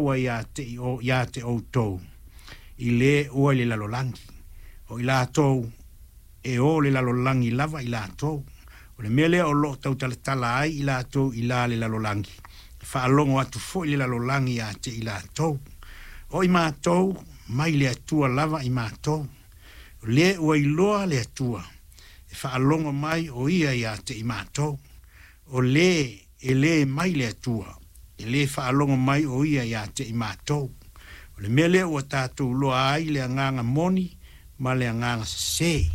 Ua ia te, ia te outou i lē ua i le lalolagi, o i latou e o le lalolagi lava i latou. O le mea lea o loo tautalatala ai i latou i la le lalolagi, e faalogo atu foi le lalolagi ia te i latou. O i matou mai le Atua lava i matou. O lē ua iloa le Atua, e faalogo mai o ia ia te i matou. O lē e lē mai le Atua, e lē faalogo mai o ia ia te i matou. O le mea lea ua tatou iloa ai le agaga moni ma le agaga sesē.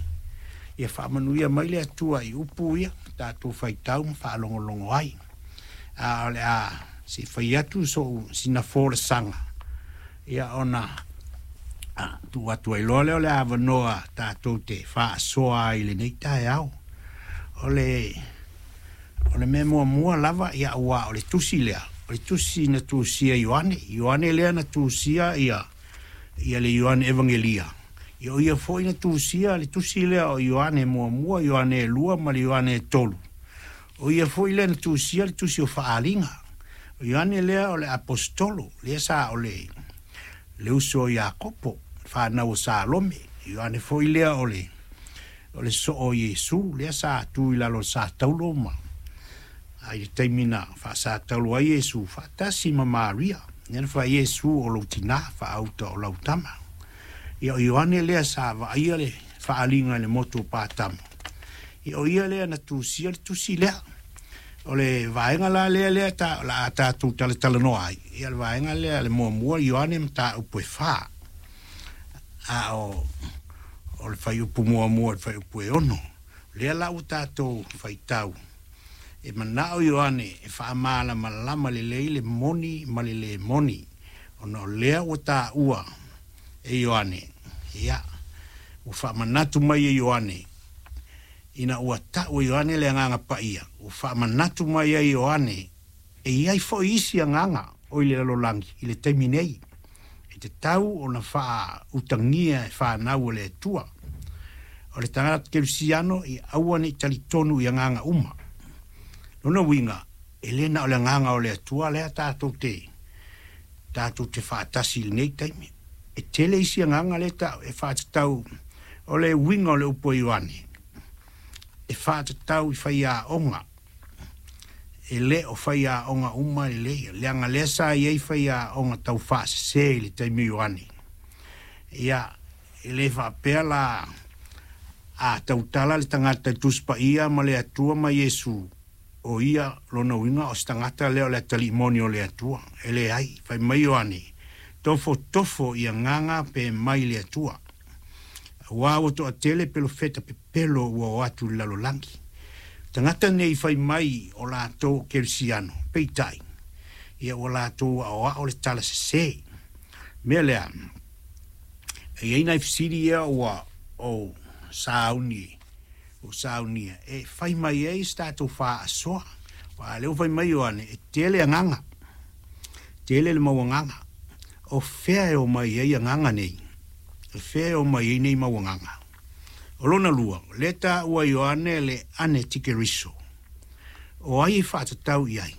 Ia faamanuia mai le Atua i upu ia tatou faitau ma faalogologo ai. A o le a se i fai atu so'u sina folasaga, ia ona tuu atu ai loa lea o le avanoa tatou te faasoa ai i lenei taeao. O le mea muamua lava, ia, ua o le tusi lea, o le tusi na tusia Ioane. Ioane lea na tusia ia le Ioane Evagelia. Ia o ia foi na tusia le tusi lea o Ioane 1, Ioane 2 ma le Ioane 3. O ia foi lea na tusia le tusi o Faaaliga. O Ioane lea o le apostolo, lea sa o le uso o Iakopo, fanau o Salome. Ioane foi lea o le soo o Iesu, lea sa tu i lalo o sa taulo ma ai le taimi na faasataulo ai Iesu faatasi ma Maria. Lea na fai Iesu o lou tinā faauta o lau tama. Ia o Ioane lea sa vaaia le faaliga i le motu o Patamo. Ia o ia lea na tusia le tusi lea. O le vaega la lea ta, la a tatou talatalanoa ai. Ia le vaega lea le muamua Ioane mataupu e 4. A o le fuaiupu 1 i le fuaiupu e 6. Lea la ua tatou faitau. E manao Ioane e faamalamalama lelei le moni ma le lē moni. Ona o lea ua taua e Ioane, ia, ua faamanatu mai e Ioane, ina ua tau e Ioane le agaga paia, ua faamanatu mai ai Ioane, e i ai foi isi agaga o i le lalolagi i le taimi nei. E tatau ona faautagia e fanau o le Atua. O le tagata kerisiano ia aua ne i talitonu i agaga uma. Lona uiga, e lē na o le agaga o le Atua lea tatou te faatasi i lenei taimi. E tele isi agaga lea ta e faatatau o le uiga o le upu a Ioane. E faatatau i faiaoga. E lē o faiaoga uma lelei, leaga lea sa i ai faiaoga tau faasesē i le taimi o Ioane. Ia, e lē faapea la a tautala le tagata i Tusi Paia ma le Atua ma Iesu, o ia lona uiga o se tagata lea o le atalii moni o le Atua. E leai, fai mai Ioane, tofotofo i agaga pe mai le Atua. Auā ua toatele pelofeta pepelo ua o atu i le lalolagi. Tagata nei fai mai o latou o kerisiano, peitai, ia ua latou aoao le tala sesē. Mea lea, e i ai nai fesili ia ua ou sauni ua saunia e fai mai ai se tatou faasoa. Aua lea ua fai mai Ioane, e tele agaga, tele le mau agaga. O fea e o mai ai agaga nei? E fea e o mai ai nei mau agaga? O lona lua, lea taua Ioane le anitikeriso. O ai e faatatau i ai?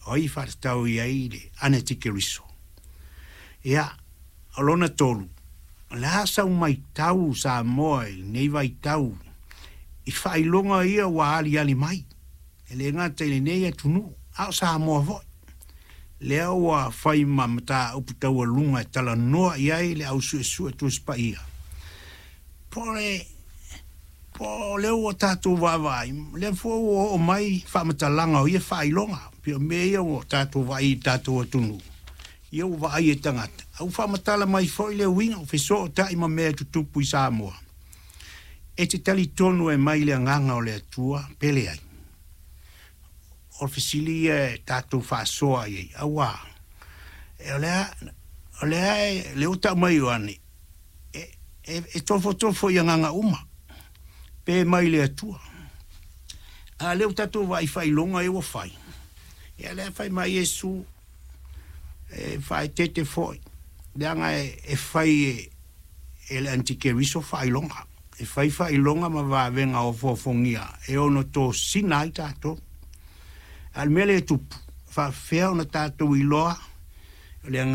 O ai e faatatau i ai le anitikeriso? Ia, o lona tolu, o le a sau maitau Samoa i lenei vaitau i faailoga ia ua aliali mai. E lē gata i lenei atunuu, a o Samoa foi. Lea ua fai ma mataupu taualuga e talanoa i ai le au suesue Tusi Paia. Po le po o lea ua tatou vaavaai, lea foi ua oo mai faamatalaga o ia faailoga. Pei o mea ia ua tatou vaai i tatou atunuu. Ia ua vaai e tagata. A ua faamatala mai foi le uiga o fesootai ma mea e tutupu i Samoa. E te talitonu e mai le agaga o le Atua pe leai. O le fesili ia e tatou faasoa i ai. Auā, e o lea e, le ua tau mai Ioane, e tofotofo i agaga uma, pe mai le Atua. A lea ua tatou vaai faailoga ia ua fai. Ia lea fai mai Iesu, e faaeteete foi, leaga e fai e le anitikeriso faailoga. E fai faailoga ma vavega ofoofogia e ono tosina ai tatou. A o le mea lea e tupu, faafefea ona tatou iloa o le agaga